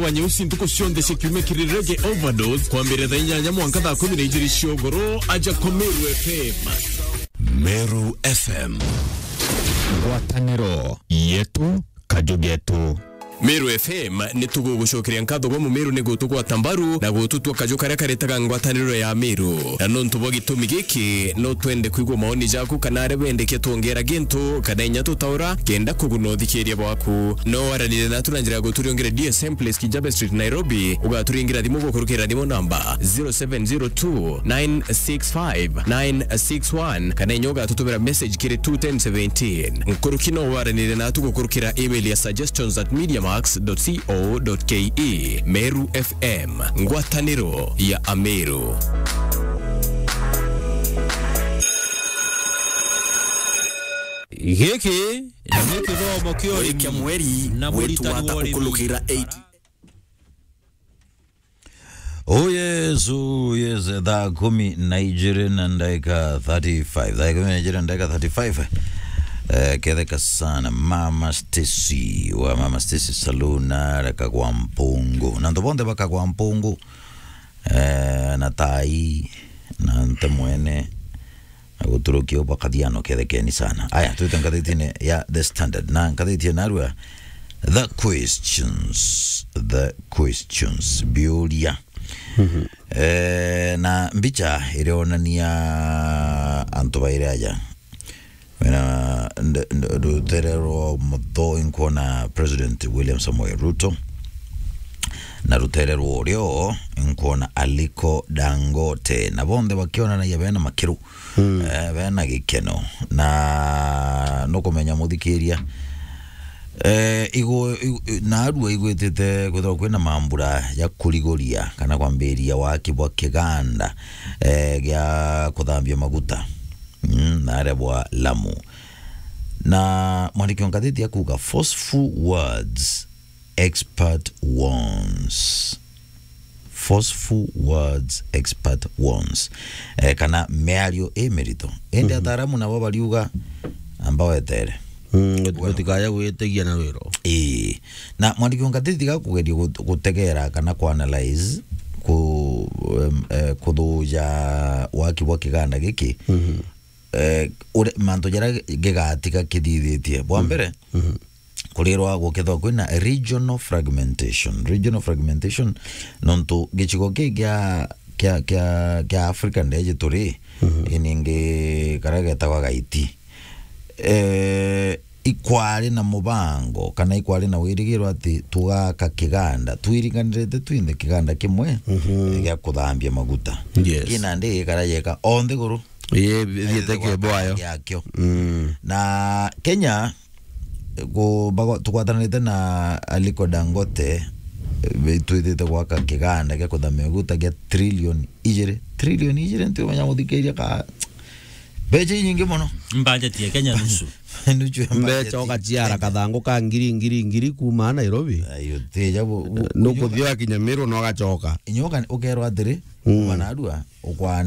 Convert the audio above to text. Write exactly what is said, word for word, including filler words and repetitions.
wa Nyeusi ntuku cionthe cia kiumia kiri Reggae Overdose, kwambiriria thaa inyanya mwanka thaa kumi na ijiri cia ugoro, aja kwa Meru F M. Meru F M. Ngwataniro yetu, kaju getu. Meru F M ni tugugucokeria nkatho gwa Mumiru ni gutugwata mbaru na gututua kaju karia karitaga ngwataniro ya Meru. Na nontu bwa gitumi giki, no twende kwigua maoni jaku kana aria wendekia twongera gintu kana inya tutaura kenda kuguna uthikiria bwaku. No waranire natu na njira ya guturiongera D S M Place Kijambe Street, Nairobi, ugaturingira thimu gukurukira thimu namba zero seven zero two nine six five nine six one, kana inya ugatutumira message kiri two ten seventeen. Nkuruki no waranire natu gukurukira email ya suggestions at mediamax dot co dot ke. Meru F M, ngwataniro ya Ameru. Giki ni kithomo kia urimi na muritani wa urimi. Oh yes, oh yes, thaa kumi na ijiri na ndagika thirty-five. Thaa kumi na ijiri na ndagika thirty-five. Eh, ketheka sana. Mama Stacy, wa Mama Stacy Saloon, na Kagwa Mpungu. Na antu bonthe ba Kagwa Mpungu, eh, na tai, na nte mwene, na guturukia u bakathiano kethekeni sana. Aya, twite ngathitine ya The Standard. Na ngathiti narua, The Questions. The Questions. Biuria. Mhm. Eh, na mbicha irionania antu bairi aja. Wena nd-, nd-, rutere rwa mutho inkuona President William Samoei Ruto. Na rutere rwa urio inkuona Aliko Dangote. Na bonthe bakionanagia bena makiru. Mm. Eh, bena gikeno. Na nukumenya muthikiria, eh, igu-, igu-, narua igwitite kwithirwa kwina mambura ya kuriguria kana kwambiriria waki bwa kiganda, eh, gia kuthambia maguta. Mm, na aria bwa Lamu. Na mwandiki wa ngathiti akuga, "Forceful words, expert warns." Forceful words, expert warns. Eh, kana miario i mirito. Indi, mhm, ataaramu nabo bariuga, amba wetere. Mm, gut-, gutikaya gwitigia na rwiro. Ii. Na mwandiki wa ngathiti tiga kugeria gut-, gutegera kana ku analyze, ku, em, eh, kuthuja waki bwa kiganda giki. Mhm. Eh, ure-, mantu jaria gigatiga kithithitie. Bwa, mhm, mbere, mhm, kurirwa gukethwa kwina regional fragmentation. Regional fragmentation, nontu gicigo kii kia, kia, kia, kia Africa ndeji turi, mhm, iningi karia getagwa Gaiti. Eh, ikwari na mubango, kana ikwari na wirigiro ati tugaka kiganda, twiringanirite twinthe kiganda kimwe, mhm, gia kuthambia maguta. Yes. Kina ndi gikara jeka o nthiguru. Ii, ithiite kibo ayo. Giakio. Mm. Na Kenya, ku-, bago-, tugwatanirite na Aliko Dangote, eh, twithite gwaka kiganda gia kuthambia maguta gia trilioni ijiri. Trilioni ijiri, ntiumenya guthikiria ka, mbeca inyingi mono. Budget ya Kenya nusu. Nusu ya budget. Mbeca ugaciara kathangu ka ngiri, ngiri, ngiri kuma Nairobi. Ayo, tija bu-, bu-, nukuthia kinya Meru na ugacoka. Inyoka ukerwa atiri, mm, kuma narua, ukwa